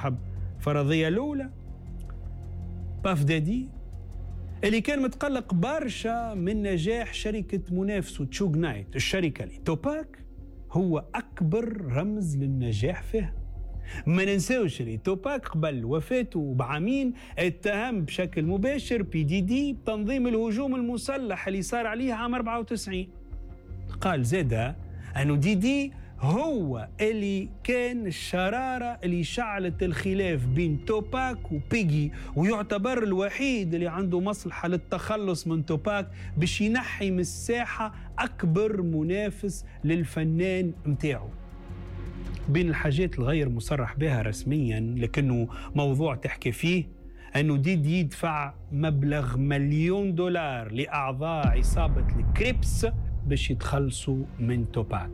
صاحب الفرضية الأولى باف دادي اللي كان متقلق برشا من نجاح شركة منافسه تشوغ نايت، الشركة اللي توباك هو أكبر رمز للنجاح فيها. ما ننساوش اللي توباك قبل وفاته بعامين اتهم بشكل مباشر بي دي دي بتنظيم الهجوم المسلح اللي صار عليه عام 94. قال زادا أنه دي دي هو اللي كان الشرارة اللي شعلت الخلاف بين توباك وبيجي، ويعتبر الوحيد اللي عنده مصلحة للتخلص من توباك باش ينحي من الساحة أكبر منافس للفنان متاعه. بين الحاجات الغير مصرح بها رسميا لكنه موضوع تحكي فيه أنه ديدي يدفع مبلغ $1,000,000 لأعضاء عصابة الكريبس باش يتخلصوا من توباك.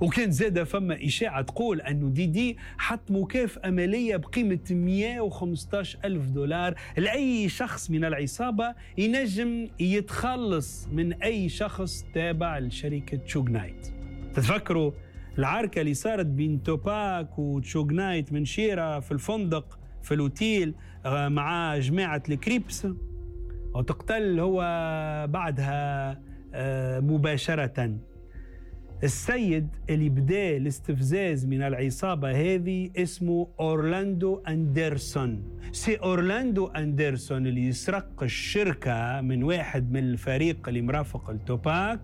وكان زادة فما إشاعة تقول أنه ديدي حط مكافأة مالية بقيمة $115,000 لأي شخص من العصابة ينجم يتخلص من أي شخص تابع لشركة شوغ نايت. تتفكروا العركة اللي صارت بين توباك وتشوغ نايت من شيرة في الفندق في الأوتيل مع جماعة الكريبس، وتقتل هو بعدها مباشرة. السيد اللي بدأ الاستفزاز من العصابة هذه اسمه أورلاندو أندرسون. سي أورلاندو أندرسون اللي يسرق الشركة من واحد من الفريق اللي مرافق التوباك،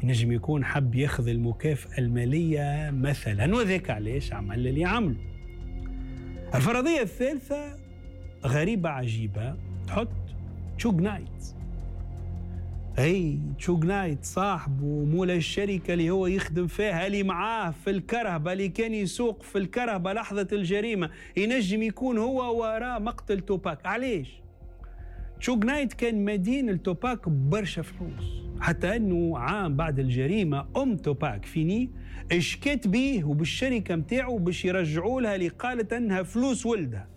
ينجم يكون حب ياخذ المكافأة المالية مثلا، وذاك علاش عمل اللي عمله. الفرضية الثالثة غريبة عجيبة، تحط تشوغ نايت. اي تشوغ نايت صاحبه مولا الشركة اللي هو يخدم فيها، اللي معاه في الكرهبة، اللي كان يسوق في الكرهبة لحظة الجريمة، ينجم يكون هو وراء مقتل توباك. علاش؟ تشوغ نايت كان مدين لتوباك برشا فلوس، حتى انه عام بعد الجريمة ام توباك فيني اشكت بيه وبالشركة متاعه باش يرجعوا لها اللي قالت انها فلوس ولدها.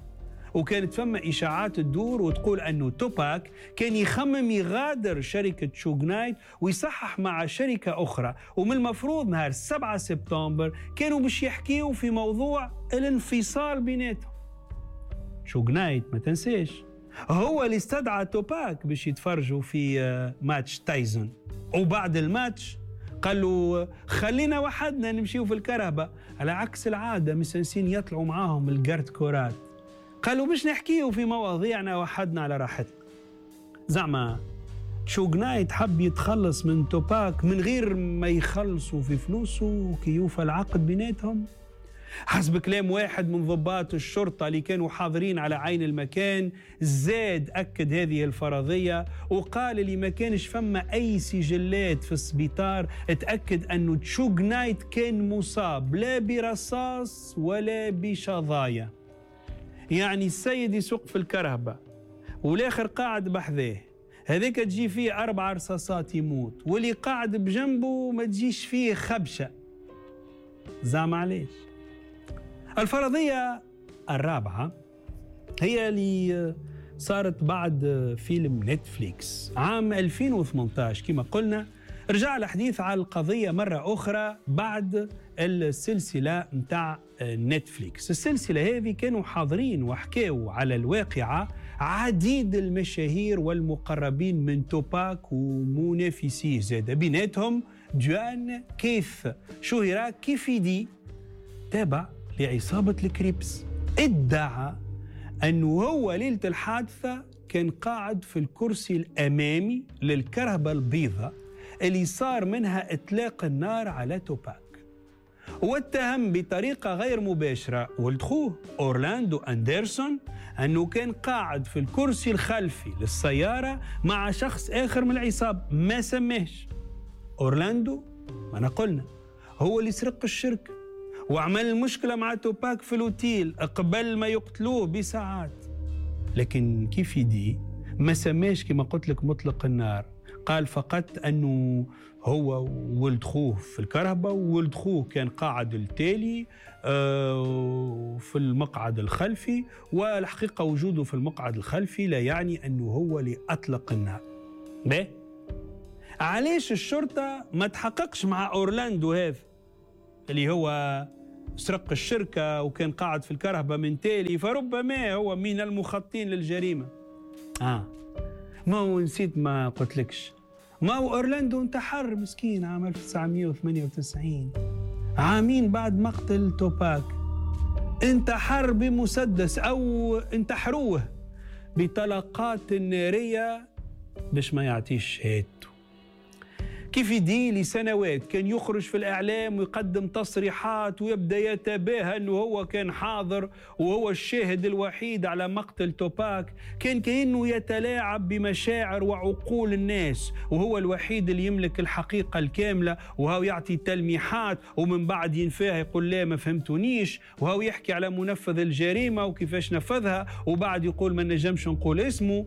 وكانت فما إشاعات تدور وتقول أنه توباك كان يخمم يغادر شركة شوغ نايت ويصحح مع شركة أخرى، ومن المفروض نهار 7 سبتمبر كانوا باش يحكيوا في موضوع الانفصال بيناتهم. شوغ نايت ما تنساش هو اللي استدعى توباك باش يتفرجوا في ماتش تايزون، وبعد الماتش قال له خلينا وحدنا نمشيو في الكرهبة، على عكس العادة مسنسين يطلعوا معاهم ال garde corps ات، قالوا باش نحكيو في مواضيعنا وحدنا على راحتنا. زعما شوغ نايت حب يتخلص من توباك من غير ما يخلصوا في فلوسه وكيوفى العقد بيناتهم. حسب كلام واحد من ضباط الشرطة اللي كانوا حاضرين على عين المكان، زاد أكد هذه الفرضية وقال اللي ما كانش فما أي سجلات في السبيطار تأكد أنه تشوغ نايت كان مصاب لا برصاص ولا بشظايا. يعني السيد يسوق في الكرهبة والآخر قاعد بحذاه، هذاك تجي فيه 4 رصاصات يموت، واللي قاعد بجنبه ما تجيش فيه خبشة. زعما علاش؟ الفرضية الرابعة هي اللي صارت بعد فيلم نتفليكس عام 2018. كما قلنا رجع الحديث على القضية مرة أخرى بعد السلسلة متاع نتفليكس. السلسلة هذه كانوا حاضرين وحكاوا على الواقعة عديد المشاهير والمقربين من توباك ومنافسيه، زاد بيناتهم جوان كيف شهر كيفيدي تابع لعصابة الكريبس. ادعى أنه هو ليلة الحادثة كان قاعد في الكرسي الأمامي للكرهبة البيضاء اللي صار منها إطلاق النار على توباك، واتهم بطريقة غير مباشرة ولد خوه أورلاندو أندرسون أنه كان قاعد في الكرسي الخلفي للسيارة مع شخص آخر من العصابة ما سماش. أورلاندو ما قلنا هو اللي سرق الشركة وعمل المشكلة مع توباك في الأوتيل قبل ما يقتلوه بساعات، لكن كيف يدي ما سماش كما قلت لك مطلق النار، قال فقط أنه هو ولد خوه في الكرهبة وولد خوه كان قاعد التالي في المقعد الخلفي، والحقيقة وجوده في المقعد الخلفي لا يعني أنه هو اللي أطلق النار. باهي، علاش الشرطة ما تحققش مع أورلاندو هذا اللي هو سرق الشركة وكان قاعد في الكرهبة من تالي، فربما هو من المخططين للجريمة. ما هو نسيت ما قلتلكش، ما هو أورلاندو انتحر مسكين عام 1998، عامين بعد مقتل توباك. انتحر بمسدس أو انتحروه بطلقات نارية باش ما يعطيش شهادته. كيفي دي لسنوات كان يخرج في الإعلام ويقدم تصريحات ويبدأ يتباهى أنه هو كان حاضر وهو الشاهد الوحيد على مقتل توباك. كان كأنه يتلاعب بمشاعر وعقول الناس، وهو الوحيد اللي يملك الحقيقة الكاملة، وهو يعطي تلميحات ومن بعد ينفاها يقول لا ما فهمتونيش، وهو يحكي على منفذ الجريمة وكيفاش نفذها وبعد يقول ما نجمش نقول اسمه.